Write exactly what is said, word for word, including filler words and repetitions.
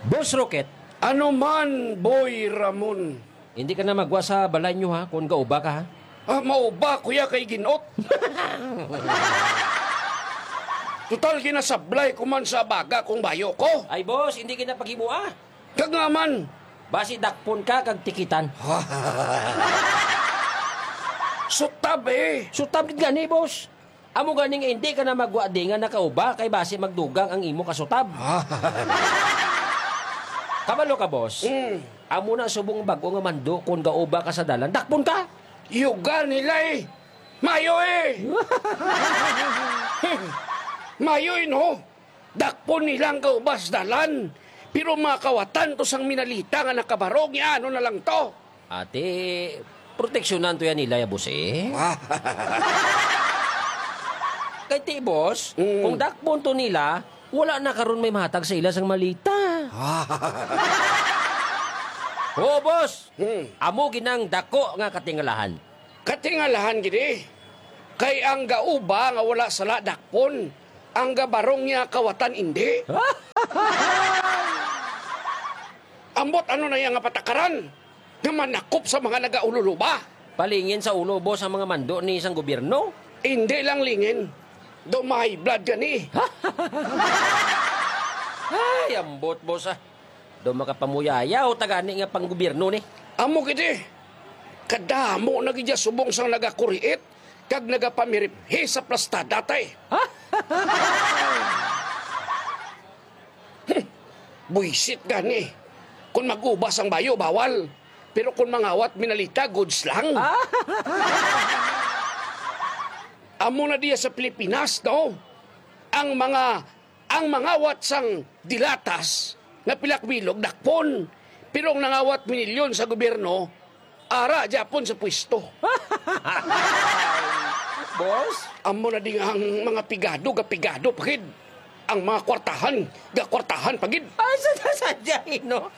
Boss Rocket. Ano man, Boy Ramon? Hindi ka na magwa sa balay nyo, ha, kung gauba ka, ha? Ah, mauba, kuya, kay ginot. Total, ginasablay ko man sa baga kung bayo ko. Ay, boss, hindi ka na paghimua. Kag nga man. Basi dakpon ka kag tikitan. Sutab, eh. Sutab gid gani, boss. Amo gani nga hindi ka na magwa di nga nakauba kay basi magdugang ang imo kasutab. Kabalo ka, boss? Mm. Amo na subong bag-o nga mando, kon gauba ka sa dalan, dakpon ka. Yuga nila, eh. Mayo, eh. Mayo, eh, no? Dakpon nila ang gauba sa dalan. Pero mga kawatan to sang minalita nga nakabarog, ya, ano na lang to? Ate, proteksyonan to yan nila, ya, boss, eh. Kay ti, boss, Mm. kung dakpon to nila, wala na karon may mahatag sa ila sang malita. Oo, boss. Hmm. Amo ginang dako nga katingalahan. Katingalahan gid, eh. Kay ang gauba nga wala sala dakpon, ang gabarong niya kawatan indi. Ambot ano na iya nga patakaran nga manakop sa mga nagaululuba? Palingin sa ulo, boss, ang mga mando ni sang gobyerno? Indi lang lingin. Do ma-high blood gani. Ay, ambot, boss, ah. Do makapamuyayaw ta gani nga panggobyerno ni. Amo gid, eh. Kadamo na gid ya subong sang nagakuriit kag nagapamiriphi sa plastada, tay. Buisit gani. Kon mag-uba sang bayo, bawal. Pero kon mangawat minalita, goods lang. Ah. Amo na diya sa Pilipinas, no? Ang mga, ang mangawat sang dilatas nga pilak bilog, dakpon. Pero ang nangawat minilyon sa gobyerno, ara gyapon sa pwesto. Boss? Amo na ding ang mga pigado, gapigado pa gid. Ang mga kwartahan, gakwartahan pa gid. Ay, sa, sa, sa, no?